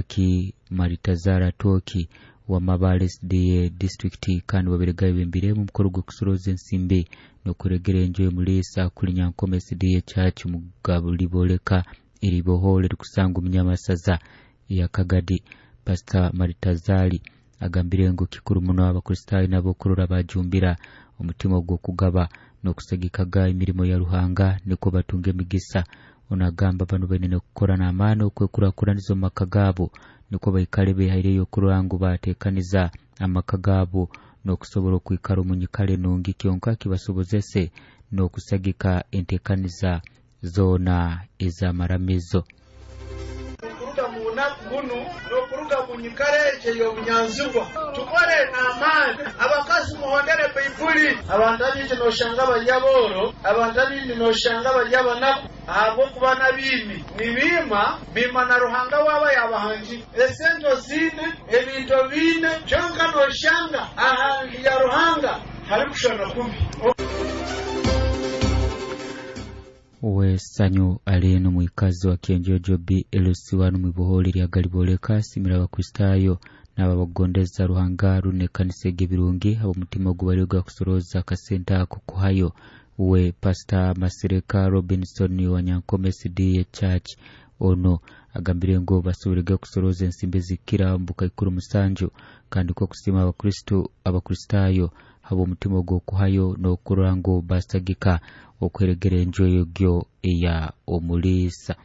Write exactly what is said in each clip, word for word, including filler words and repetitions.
Ki Maritazara Toki wa Mabale S D A district kandi baberega bembiremu mukuru gw'okusoroza ensimbi n'okuregera enju y'omulisa kuli Nyankome S D A Church mugabuli boleka eribohole rikusanga omunyamasaza ya Kagadi. Pastor Maritazali agambire ngu kikuru muno Abakristaayo nabo kurora bajumbira omutima ogw'okugaba n'okusagikaga emirimo ya Ruhanga niko batunga emigisa. Onagamba bano baine kukora n'amaani okwekurakuraniza omu maka gaabo niko baikale behaireyo okurora ngu bateekaniza amaka gaabo n'okusobola okwikara omu nyikara enungi kyonka kibasobozese n'okusagika enteekaniza zoona ez'amaramizo. Okuruga mu bunaku bunu n'okuruga mu nyikara egyo ey'obunyanzigwa tukore n'amaani. Abakazi muhondere Baibuli. Abantu abingi noshanga bari abooro, abantu abindi noshanga bari abanaku ahabw'okuba n'abiimi nibiima biima na Ruhanga waaba yabahangire. Esente oziine, ebintu obiine, kyonka noshanga aha nju ya Ruhanga harikushana kubi. Wesanyu aleno mwikazi wa Kienjojo B Elusiwanu mwiboholi lya Galiboleka simira Abakristaayo n'ababagondeza Ruhanga rune kanisa ebirungi abo mutima ogubaliga kusoroza akasente ako kuhayo. We Pastor Masireka Robinson wa Nyankome S D A Church ono agambire ngo basoborege kusoroza ensimbi zikira mbuka ikuru musanju kandi ko kusima Abakristo Abakristaayo habo mutima ogwokuhayo n'okurora ngo basagika okweregera enju egyo eya omulisa.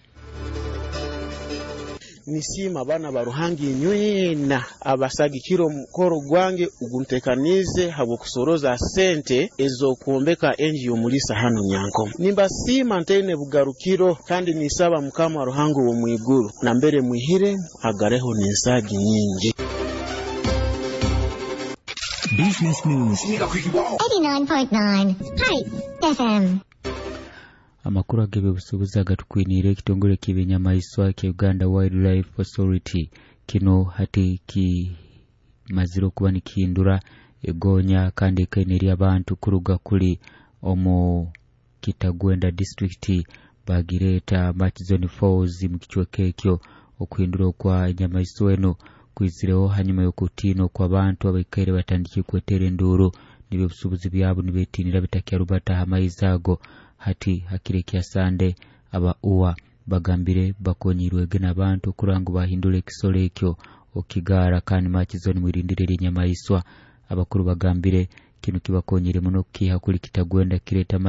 Nisiima abaana ba Ruhanga inywena abasagikire omukoro gwange oguntekanize habw'okusoroza sente ez'okwombeka enju y'omulisa hanu Nyankome. Nimbasiima ntaine bugarukiro kandi nisaba Mukama Ruhanga ow'omwiguru nambere mwihire agareho n'ensagi nyingi. Business News eighty-nine point nine Spice F M. Amakuru ag'ebyobusuubuzi agatukwiniire ekitongole ky'ebinyamaiswa kya Uganda Wildlife Authority kino hati kimazire okuba nikihindura egonya kandi ekaine eri abantu kuruga kuli omu Kitagwenda district bagireeta Murchison Falls mu kicweka ekyo. Okuhindura okwa enyamaiswa eno kwizireho hanyuma y'okutiina okw'abantu abaikaire batandikire kwetera enduuru n'ebyobusuubuzi byabo nibeetiinira bitakyarubata aha maizi ago. Hati hakire kya Sande aba U A bagambire bakonyirwege n'abantu kurora ngu bahindura ekisoro ekyo okigara kandi Murchison mwirindire ery'enyamaiswa. Abakuru bagambire kino kibakonyire muno kukiha kuli Kitagwenda kireta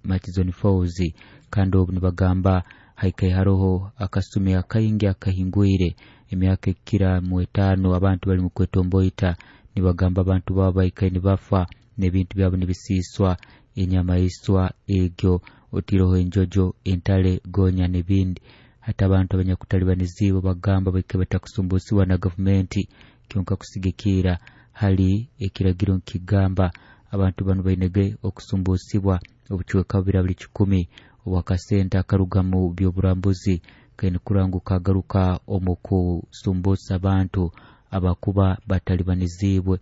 Murchison Falls kandi obu nibagamba haikai haroho akasumi akaingi akahingwire emyaka ekira mu etaano abantu bali mu kwetomboita nibagamba abantu baba baikai nibafa n'ebintu byabo nibisiiswa enyamaiswa egyo otiroho enjojo entale gonya n'ebindi. Hata abantu abanyakutalibaniziibwe bagamba baike batakusumbusiwa na gavumenti kyonka kusigikira hali ekiragiro nkigamba abantu bano bainege okusumbusibwa obucweka bubiri buli kikumi obwakasente akaruga mu by'oburambuzi kaine kurangu kagaruka omu kusumbusa abantu abakuba batalibaniziibwe.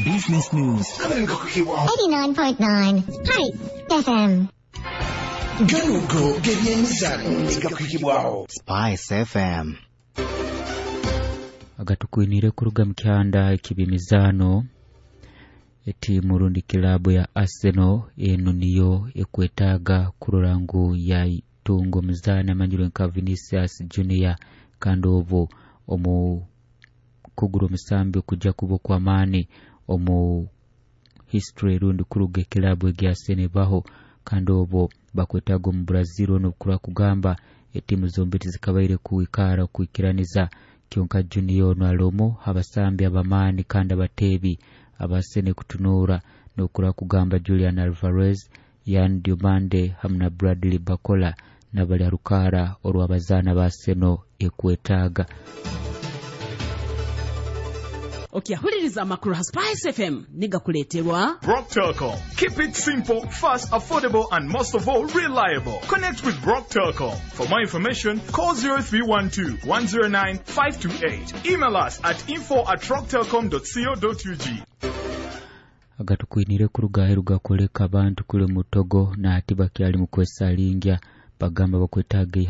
Business News eighty-nine point nine Spice F M. Ganugo gebyemizano gakwikibwaho Spice F M. Agatukwinire kuruga mu kyanda ekibimizano etimu rundi kilabu ya Arsenal eno niyo ekwetaaga kurora ngu yaitunga omuzaani amanyirwe nka Vinicius Junior kandi obu omu kugura omusambi okujja kuba okw'amaani omu history rundi kuruga ekilabu egya Arsenal ebaho kandi obu bakwetaaga omu Brazil ono kura kugamba etimu zombi tizikabaire kuikara kwikiraniza kyonka Junior ono alomo abasambi abamaani kandi abateebi abasene kutunura nokura kugamba Julian Alvarez, Yan Diomande hamwe na Bradley Bakola nabali arukara orw'abazaana ba Arsenal ekwetaaga. Okyahuliriza amakuru ha Spice F M nigakuleeterwa Brock Telcom. Keep it simple, fast, affordable and most of all reliable. Connect with Brock Telcom. For more information, call zero three one two, one zero nine, five two eight. Email us at info at rocktelcom dot co dot U G. Agatukwinire kuruga aheru gakoleka abantu kule mutogo na ati bakyali mu kwesalingya bagamba bakwetaaga